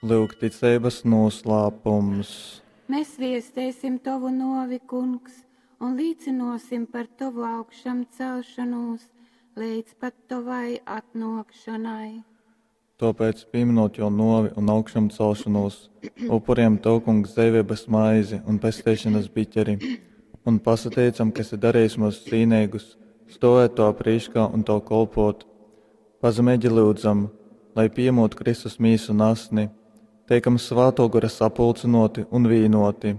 Lyuk ticeibas noslēpums. Mēs viestēsim tovu novi, kungs, un līcinosim par tovu augšam celšanos līdz pat tovai atnākšanai. Tāpēc, pieminot jo novi un augšām celšanos, upuriem Tev, Kungs, dzīvības maizi un pestīšanas biķeri, un pasateicam, ka esi darījis mūs cīnīgus, stāvēt to prīškā un Tev kolpot. Pazemīgi lūdzam, lai piemot Kristus mīsu un asni, teikam svēto gara sapulcinoti un vīnoti.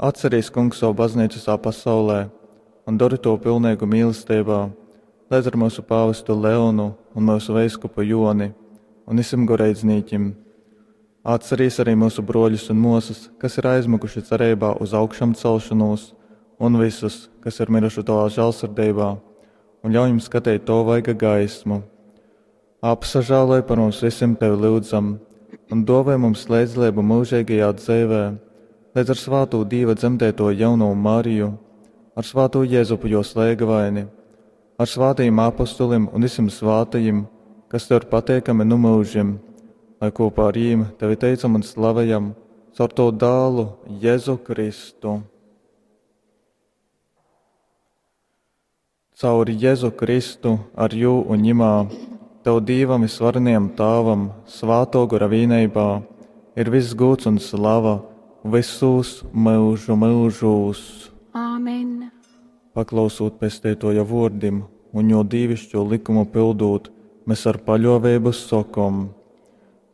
Atcerīs, Kungs, savu baznīcu visā pasaulē un dari to pilnīgu mīlestībā, līdz ar mūsu pāvestu Leonu un mūsu veiskupu Joni un visiem goreidznīķim. Atcerīs arī mūsu broļus un mūsas, kas ir aizmukuši cerībā uz augšām celšanos, un visus, kas ir miruši tavā žēlsirdībā, un ļauj jums skatīt to vaiga gaismu. Apsažāloj par mums visiem tevi lūdzam, un dāvā mums līdzdalību mūžīgajā dzīvē, līdz ar svāto Dieva dzemdēto jauno Mariju, ar svāto Jēzupu jo slēgavaini, ar svātajiem apostulim un visiem svātajiem, kas tev ir pateikami nu mūžiem, lai kopā ar jīm tevi teicam un slavējam caur to dālu Jēzu Kristu. Caur Jēzu Kristu, ar jū un ņimā, tev Dīvam visvarenajam Tāvam, svāto gora vīneibā, ir viss gūts un slava visos mūžu mūžūs. Āmen! Paklausot pestētoja vārdim un jo dīvišķo likumu pildot, mēs ar paļāvību sakom: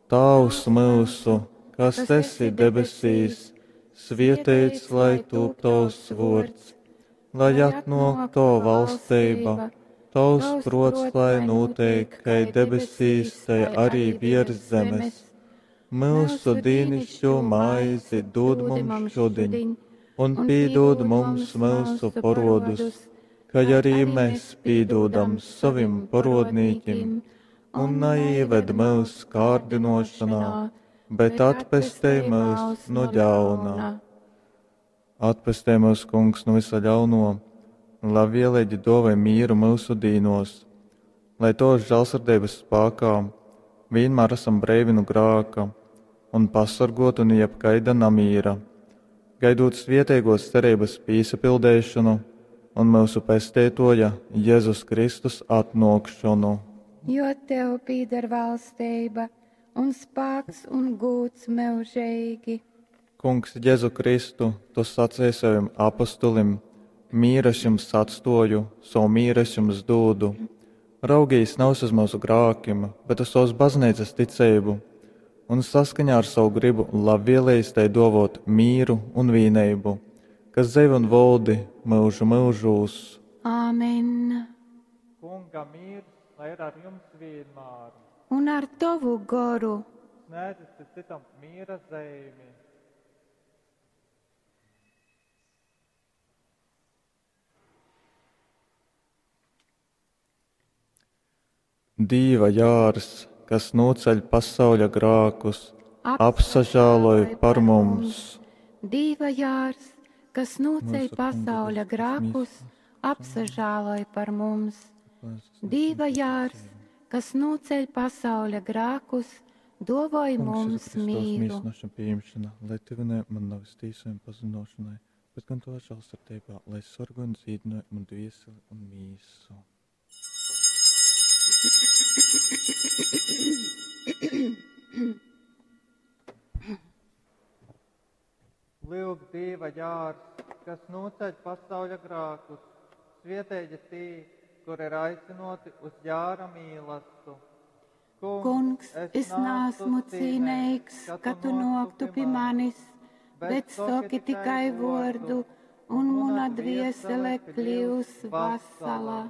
Tēvs mūsu, kas esi debesīs, svētīts lai tūp tavs vārds, lai atnāk tava valstība, tavs prots, lai notiek, kai debesīs, tai arī virs zemes. Mūsu dīnišķo maizi dod mums šodien, un pīdod mums mūsu parodus, kā arī mēs pīdodam savim parodnīkim, un neieved mūsu kārdinošanā, bet atpestej mūs no ļauna. Atpestej mūs, kungs, no visa ļauno, un labvēlīgi dāvā mieru mūsu dīnos, lai tos žēlsirdības spēkā vienmēr esam breivi no grāka un pasargoti no jebkaida namīra, gaidot svietēgos cerības pīsapildēšanu un mūsu pestētoja Jēzus Kristus atnākšanu. Jo tev pīder valstība un spēks un gūts mūžīgi. Kungs, Jēzu Kristu, tu sacīji saviem apostulim, mīru es jums atstoju, savu mīru es jums dūdu. Raugīs nav uz mūsu grākim, bet uz savas baznīcas ticību, un saskaņā ar savu gribu labvēlējis tai dovot mīru un vīneibu, kas dzīvo un valdi mūžu mūžūs. Āmen! Kunga mīrs, lai ir ar jums vienmēr. Un ar tavu goru. Sniedzat citam miera zīmi. Dīva jārs, kas noceļ pasauļa grākus, apsažāloj par mums. Dīva jārs, kas noceļ Mūsu kunga pasauļa Kristus grākus, apsažāloj par mums. Dīva jārs, kas noceļ pasauļa grākus, dovoj mums mīru. Mīsnošana pieņemšana, lai tevi man nav tīsojuma pazudināšanai, bet gan to žēlsirdībā, lai sargo un dzīdināj man dvieseli un mīsu. Lūk, Dieva jārs, kas noceļ pasauļa grākus, svietēģi tī, kur ir aicinoti uz jāra mīlastu. Kungs, es neesmu cīnīgs, ka tu noktu pie manis, bet soki tikai vordu, un muna dviesele kļūs vasala.